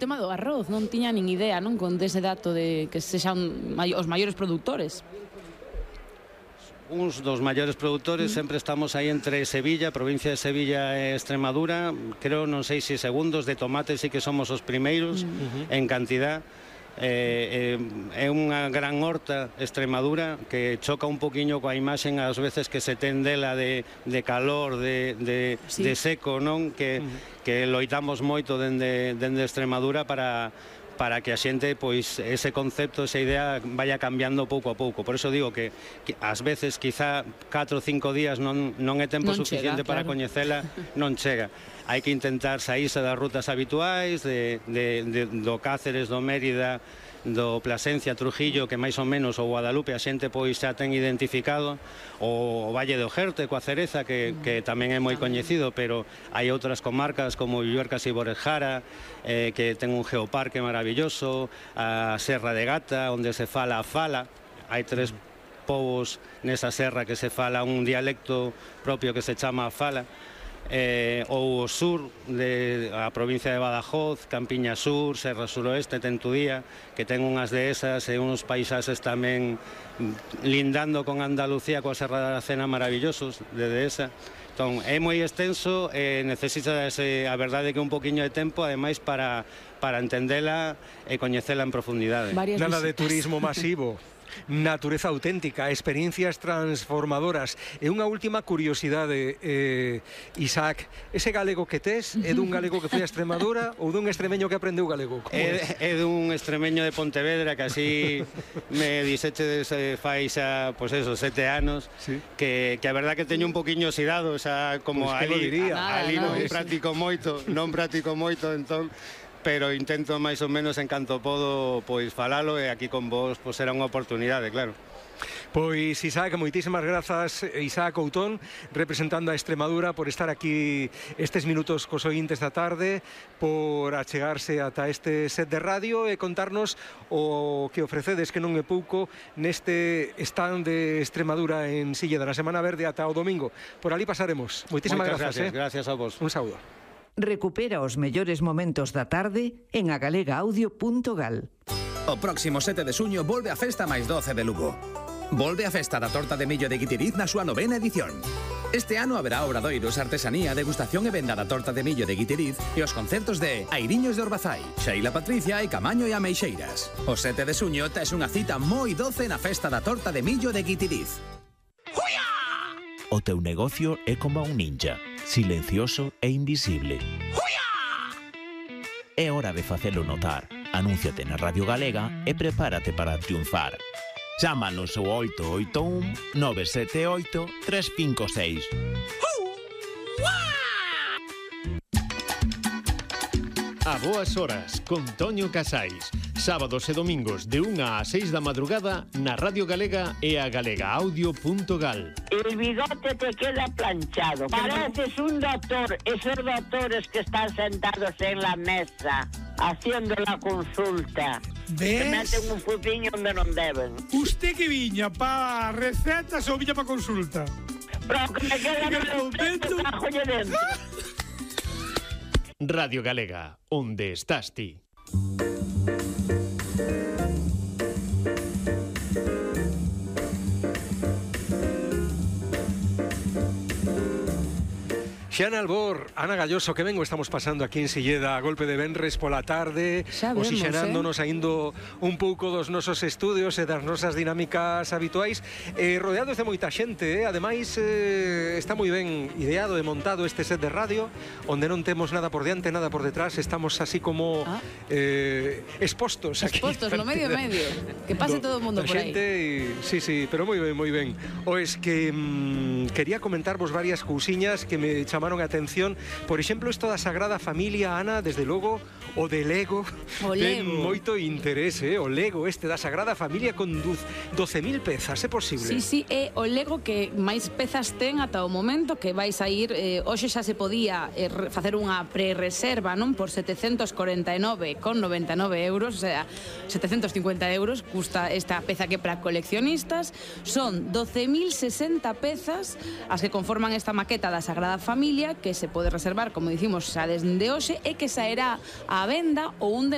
O tema do arroz, non tiña nin idea, non, con dese dato de que sexan os maiores produtores. Uns dos maiores produtores, sempre estamos aí entre Sevilla, provincia de Sevilla e Extremadura, creo, non sei se segundos, de tomate sí que somos os primeiros en cantidad. É unha gran horta Extremadura que choca un poquinho coa imaxen ás veces que se ten dela de calor, de seco, non? Que loitamos moito dende Extremadura para que a xente, pois, ese concepto, esa idea vaya cambiando pouco a pouco. Por eso digo que ás veces, quizá 4 ou 5 días non é tempo suficiente para coñecela, non chega. Hai que intentar saírse das rutas habituais, do Cáceres, do Mérida, do Plasencia, Trujillo, que máis ou menos o Guadalupe a xente pois xa ten identificado, o Valle de Ojerte coa cereza, que tamén é moi coñecido, pero hai outras comarcas como Lluercas e Borejara, que ten un geoparque maravilloso, a Serra de Gata, onde se fala a fala. Hai 3 povos nesa serra que se fala un dialecto propio que se chama a fala. Ou o sur, a provincia de Badajoz, Campiña Sur, Serra Suroeste, Tentudía, que ten unhas dehesas e uns paisaxes tamén lindando con Andalucía, coa Serra da Aracena maravillosos de dehesa. Entón, é moi extenso, necesita a verdade que un poquinho de tempo, ademais, para entendela e coñecela en profundidade. Nada de turismo masivo. Natureza auténtica, experiencias transformadoras. E unha última curiosidade, Isaac, ese galego que tes é dun galego que foi a Extremadura ou dun extremeño que aprendeu galego? É dun extremeño de Pontevedra que así me dixeche fai xa, pois eso, 7 anos, que a verdad que teño un poquinho oxidado, xa como ali non practico moito, entón, pero intento máis ou menos en canto podo pois falalo, e aquí con vos pois será unha oportunidade, claro. Pois Isaac, moitísimas grazas, Isaac Outón, representando a Extremadura, por estar aquí estes minutos cos ointes da tarde, por achegarse ata este set de radio e contarnos o que ofrecedes, que non é pouco, neste stand de Extremadura en Silleda, na Semana Verde ata o domingo. Por ali pasaremos. Moitísimas grazas. Gracias a vos. Un saúdo. Recupera os mellores momentos da tarde en agalegaaudio.gal. O próximo 7 de xuño volve a Festa máis 12 de Lugo. Volve a Festa da Torta de Millo de Guitiriz na súa 9ª edición. Este ano haberá obradoiros, artesanía, degustación e venda da Torta de Millo de Guitiriz e os concertos de Airiños de Orbazai, Xeila Patricia e Camaño e Ameixeiras. O 7 de xuño tes unha cita moi doce na Festa da Torta de Millo de Guitiriz. O teu negocio é como un ninja, silencioso e invisible. É hora de facelo notar. Anúnciate na Radio Galega e prepárate para triunfar. Chámanos ao 881 978 356. A boas horas, con Toño Casais. Sábados e domingos de 1 a 6 da madrugada na Radio Galega e a galegaaudio.gal. El bigote te queda planchado. Pareces un doctor. Esos doctores que están sentados en la mesa haciendo la consulta. ¿Ves? Que meten un fuciño donde non deben. Usted que viña pa recetas ou viña pa consulta? Pero que me queda no pecho, cajolle dentro. Radio Galega, onde estás ti. Xiana Albor, Ana Galloso, que vengo estamos pasando aquí en Silleda a golpe de venres pola tarde, oxixenándonos aindo un pouco dos nosos estudios e das nosas dinámicas habituais, rodeados de moita xente, ademais está moi ben ideado e montado este set de radio, onde non temos nada por diante, nada por detrás, estamos así como expostos aquí. Expostos, no medio. Que pase todo o mundo por aí. Sí, pero moi ben. Oes que quería comentarvos varias cousiñas que me chamaron a atención. Por exemplo, isto da Sagrada Familia, Ana, desde logo, o de Lego. Ten moito interese, o Lego este da Sagrada Familia con 12.000 pezas, é posible? Sí, é o Lego que máis pezas ten ata o momento, que vais a ir, hoxe xa se podía facer unha pre-reserva, non? Por 749,99 euros, o sea, 750 euros custa esta peza que para coleccionistas. Son 12.060 pezas as que conforman esta maqueta da Sagrada Familia, que se pode reservar, como dicimos, xa desde hoxe, e que saerá á venda o 1 de